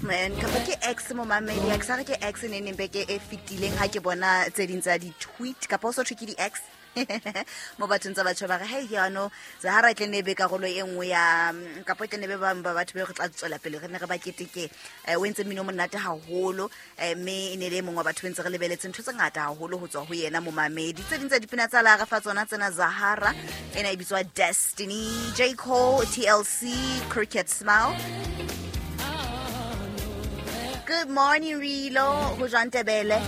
Man, kapa ke X momamedi, a ke sa re ke X ne neng beke e fetileng ha ke bona tse ding tsa di-tweet kapa o so thwe ke di-X mo bathong tsa batho ba re hei jaanong Zahara e tle ne e be karolo e nngwe ya kapa e tle ne be bangwe ba batho be re tla tswela pele re ne re ba keteke. O entse mmino o monate haholo, mme e ne le e mongwe wa batho be ntse re lebeletse ntho tse ngata haholo ho tswa ho yena momamedi. Tse ding tsa dipina tsa la re fa tsona tsena, Zahara ena e bitswa Destiny, J Cole, TLC, Crooked Smile. Good morning Rilo, ho jwang Tebele?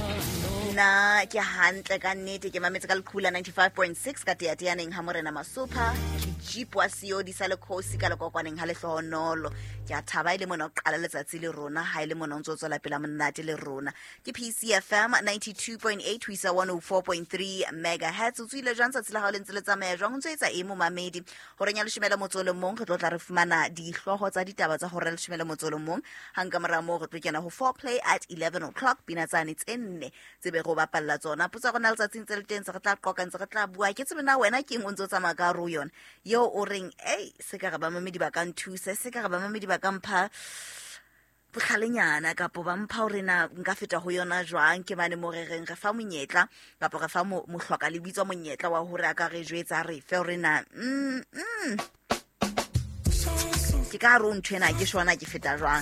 Nna ke hantle ka nnete, ke mametse ka leqhubu la 95.6 ka teateaneng ha Morena Masopha, ke jeep wa seodi sa lekhosi ka lekokwaneng ha lehlohonolo. Ke a thaba e le mona o qala letsatsi le rona, ha e le mona o ntse o tswela pela monate le rona. Ke PCFM 92.8 ho isa 104.3 megahertz. O tswile jwang tsatsi la hao le ntse le tsamaya jwang? O ntse o etsa eng momamedi? Horeng ya 11:30 re tlo tla re fumana dihlooho tsa ditaba tsa hora ya 11:30. Hang ka mora moo re tlo kena ho foreplay at 11 o'clock, pina tsane tse nne tse be re o bapalla tsona. Potso ya rona letsatsing tse le teng, tse re tla qoqa, ntse re tla bua. Ke tsebe na wena ke eng o ntse o tsamaya ka hare ho yona eo o reng, ei, se ka re bamamedi ba ka nthusa, se ka re bamamedi ba ka mpha botlhalenyana kapo ba mpha hore na nka feta ho yona jwang. Ke mane mo re reng re fa monyetla kapo re fa mohloka le bitswa monyetla wa hore a ka re jwetsa, re fe hore na ke ka hare ho ntho ena ke shona ke feta jwang.